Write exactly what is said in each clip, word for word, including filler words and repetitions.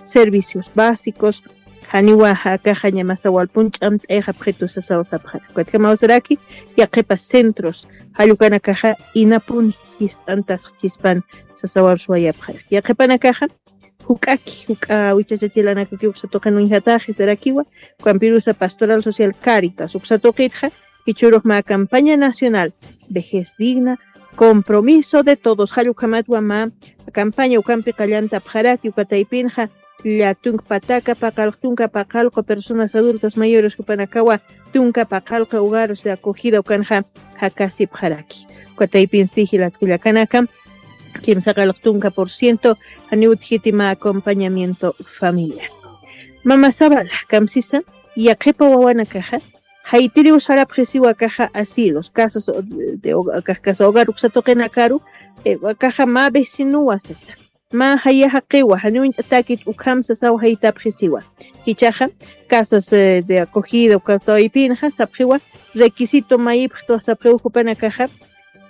servicios básicos, janiwa akaxa ñamasa walpun ch'amt'ayxapxitu sasaw sapxara. Ukatjamaw saraki, yaqhipa centros, jallukanakaxa inapuni jist'antasxchispan sasawar suwayapxara. Yaqhipanakaxa, juk'aki, juk'a wichachachilanakaki uksa tuqin uñjataxi sarakiwa, ukampirusa Pastoral Social Caritas, uksa tuqitxa, jichhürux mä campaña nacional, vejez digna, compromiso de todos, jallukhamatwa mä campaña ukampi qallantapxaraki, uka taypinxa, lla tunka pataka, paqallq tunka paqallqu personas adultos mayores jupanakawa, tunka paqallqu hogares de acogida ukanxa, jakasipxaraki. Uka taypinsti jilat kullakanaka, kimsa qallq tunka por ciento, janiw utjiti mä acompañamiento familiar. Mama Zavala, kamsisa, yaqhipa wawanakaxa, jaytiriw sarapxisiwa akaxa asilos, casas de hogar, akax casa hogar uksa tuqinakaru, eh, akaxa mä vecinowa sasa. Mä jaya jaqiwa, janiw uñt'atäkit ukham sasaw jaytapxisiwa. Jichhaxa, casas, eh, de acogida, uka taypinxa, sapxiwa, requisito mayipxtwa sapxiw jupanakaxa,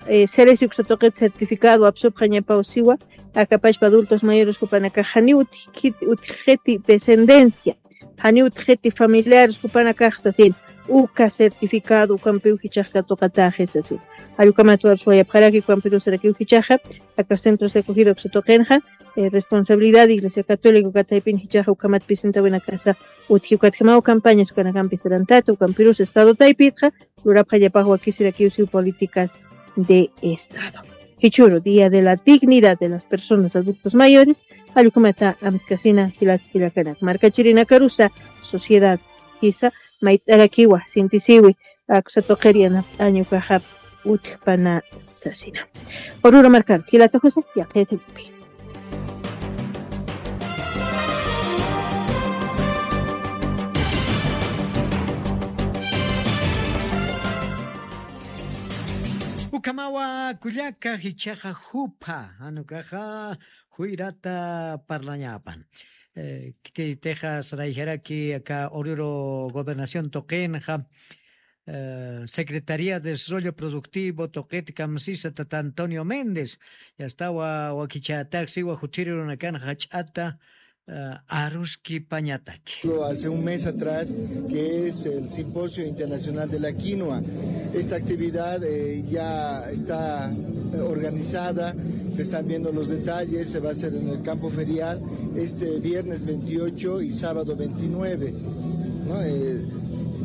eh, seresi uksa tuqit certificado apsupxañapaw siwa, aka pachpa adultos mayores jupanakax janiw utjkit-, utjxiti descendencia, janiw utjxiti familiares jupanakax sasin, uka certificado ukampiw jichhax katuqataxi sasin. Jallukhamat war suwayapxaraki ukampirus sarakiw jichhaxa, aka centros de acogida uksa tuqinxa, eh, responsabilidad Iglesia Católica uka taypin jichhaxa ukhamat presentawinakasa utji. Ukatjamaw campañas ukanakampi sarantata, ukampirus Estado taypitxa, lurapxañapax wakisirakiw siw políticas de Estado. Jichhüru, Día de la Dignidad de las Personas Adultos Mayores, jallukhamata amtkasina jilat kullakanaka. Markachirinakarusa, sociedad, jisa, mayt'arakiwa, sintisiwi, aksa tuqir yanapt'aña ukaxa utjpana sasina. Oruro markar, jilata José, yaqhayatipi. Ukhamawa kullaka jichhaxa jupha, jan ukaxa juyrata parlañapan. Eh, kiti Texas rayjaraki aka Oruro Gobernación tuqinxa, eh, Secretaría de Desarrollo Productivo tuqit kamsisa tata Antonio Méndez, yastawa wakichätaxsiwa jutiri runakan jach'ata, eh, aruskipañataki. Hace un mes atrás, que es el Simposio Internacional de la Quinoa. Esta actividad, eh, ya está, eh, organizada, se están viendo los detalles, se va a hacer en el campo ferial este viernes veintiocho y sábado veintinueve, ¿no? Eh,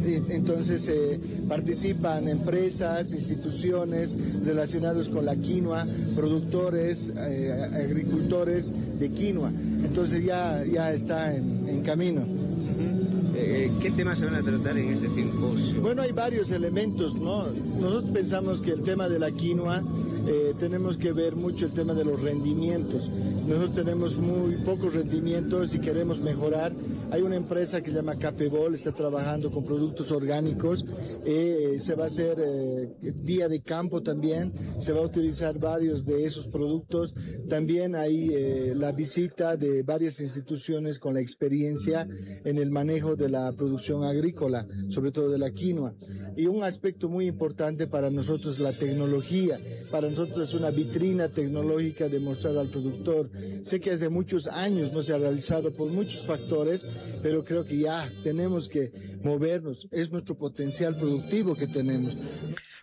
eh, entonces, eh, participan empresas, instituciones relacionadas con la quinoa, productores, eh, agricultores de quinoa. Entonces ya, ya está en, en camino. Ujú. Eh, ¿qué temas se van a tratar en este simposio? Bueno, hay varios elementos, ¿no? Nosotros pensamos que el tema de la quinoa, eh, tenemos que ver mucho el tema de los rendimientos. Nosotros tenemos muy pocos rendimientos y queremos mejorar. Hay una empresa que se llama Capebol, está trabajando con productos orgánicos. Eh, se va a hacer, eh, día de campo también. Se va a utilizar varios de esos productos. También hay, eh, la visita de varias instituciones con la experiencia en el manejo de la producción agrícola, sobre todo de la quinoa. Y un aspecto muy importante para nosotros, la tecnología. Para nosotros es una vitrina tecnológica de mostrar al productor. Sé que hace muchos años no se ha realizado por muchos factores, pero creo que ya tenemos que movernos. Es nuestro potencial productivo que tenemos.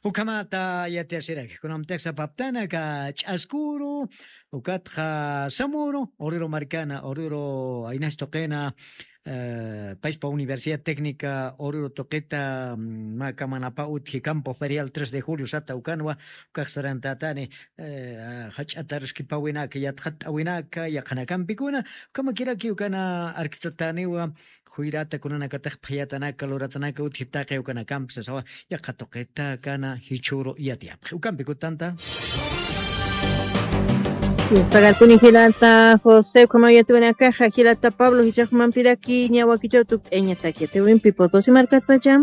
Ukhamata yatiyasiraki, kunamtix sapaptana aka Ch'askuru, ukatxa Samuru, Oruro markana, Oruro aynas tuqina, eh, payspa Universidad Técnica Oruro tuqita, mm, mä kamanapa utji campo ferial tres de julio sata ukanwa, ukax sarantatani, eh, jach'ata aruskipawinaka, yatxatt'awinaka, yaqhanakampikuna, ukhamakiraki ukana arktataniwa, juyrata kunanakatix phaytanaka, luratanaka utji taqi ukanakampi sasawa, yaqha tuqita kana jichhüru yatiyapxi. Ukampi kutanta. Pagarkuni jilata José, ukhamaw yatiyawinakaxa, jilata Pablo, jichhax jumampiraki, ña wakichäw tukt'ayañataki yatiyawimpi Potosí markatpacha.